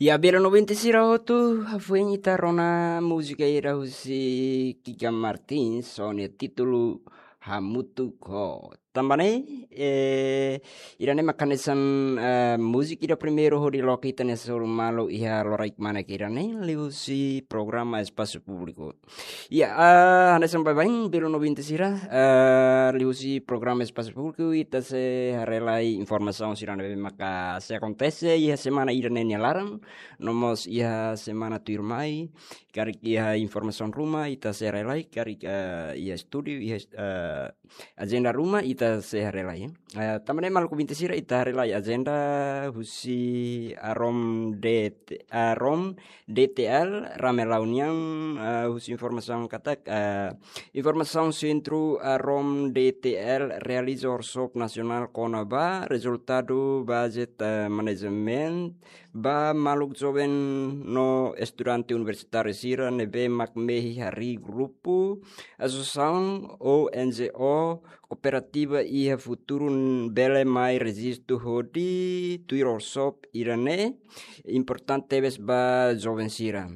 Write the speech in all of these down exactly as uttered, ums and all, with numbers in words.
Ya, belun ouvinte sira hotu, hafoin ita rona múzika ida husi Kika Martins, ho nia títulu Hamutuk Ho. Tanba ne'e, eh, ida-ne'e mak hanesan, eh, múzika ida primeiru hodi loke ita-nia solu malu iha loraik kmanek ida-ne'e, liuhusi programa Espasu Públiku. Ya, ah, hanesan baibain, belun ouvinte sira, ah, liuhusi programa Espasu Públiku, ita sei haree lai informasaun sira ne'ebé maka sei akontese iha semana ida-ne'e nia laran, no mós iha semana tuirmai, karik iha informasaun ruma, ita sei haree lai, karik, ah, iha estúdiu, iha, ah, ajenda ruma, ita sei haree lai. Eh, tanba ne'e maluk ouvinte sira, ita haree lai ajenda husi Arom D T, Arom D T L Ramelau nian, eh, husi informasaun katak, eh, informasaun sentru Arom D T L realiza workshop nasionál kona-ba rezultadu budget, eh, management ba maluk joven no estudante universitáriu sira ne'ebé mak mehi harii grupu, asosiasaun ou N G O kooperativa iha futuru bele mai rejistu hodi tuir workshop ida-ne'e importante tebes ba joven sira.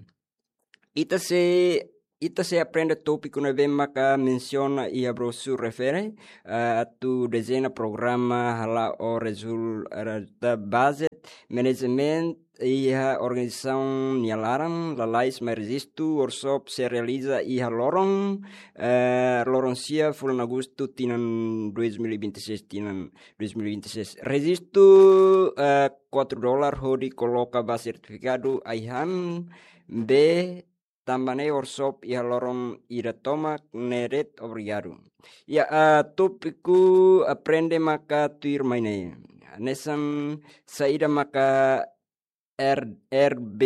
Ita sei, ita sei aprende tópiku ne'ebé maka mensiona iha broxura refere, eh, atu dezeña programa hala'o rezul-, rezulta budget management iha organizasaun nia laran, lalais mai rejistu, workshop sei realiza iha loron, eh, loron sia fulan Agostu tinan dois mil e vinte e seis, tinan dois mil e vinte e seis. Rejistu, eh, quatro dólar hodi koloka ba sertifikadu ai-han be tanba ne'e workshop iha loron ida tomak ne'e de'it, obrigadu. Ya, ah, tópiku aprende maka tuirmai ne'e. Hanesan saida maka R-, R B,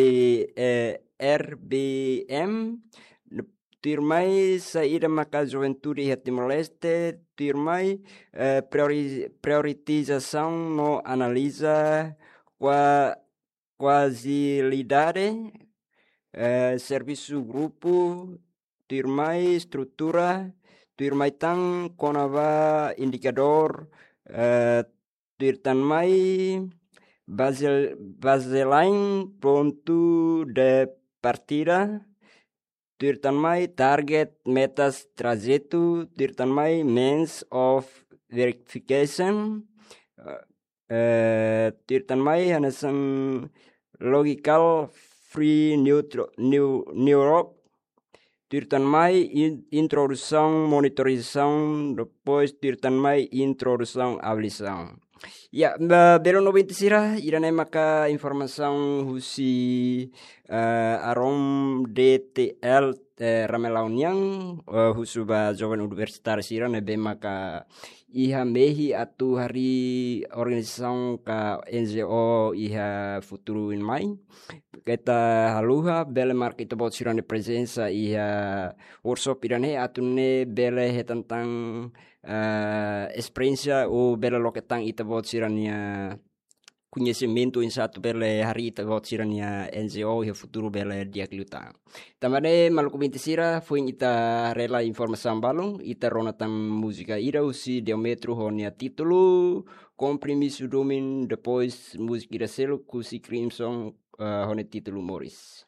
eh, R B M, tuirmai saida maka juventude iha Timor-Leste, tuirmai, eh, priori-, prioritizasaun no analiza kua-, kuazilidade, eh, servisu grupu, tuirmai estrutura, tuirmai tan kona-ba indikadór, eh, tuir tan mai bazel-, baseline pontu de partida, tuir tan mai target, metas, trajetu, tuir tan mai means of verification, eh, eh, tuir tan mai hanesan logical free neutro-, neu-, neurok, tuir tan mai in-, introdusaun monitorizasaun, depois tuir tan mai introdusaun avaliasaun. Ya, ba, belun ouvinte sira, ida-ne'e maka informasaun husi, eh, Arom D T L, eh, Ramelau nian, eh, husu ba joven universitáriu sira ne'ebé maka iha mehi atu harii organizasaun ka N G O iha futuru oin mai. Keta haluha, bele marka ita-boot sira-nia prezensa iha workshop ida-ne'e atu nune'e bele hetan tan, eh, esperiénsia ou bele loke tan ita-boot sira-nia koñesimentu oinsá atu bele harii ita-boot sira-nia N G O iha futuru bele di'ak liután. Tanba ne'e maluk ouvinte sira, foin ita haree lai informasaun balun, ita rona tan múzika ida husi Diametro ho nia títulu Kompromisu Domin, depois múzika ida seluk husi Crimson, eh, ho nia títulu Moris.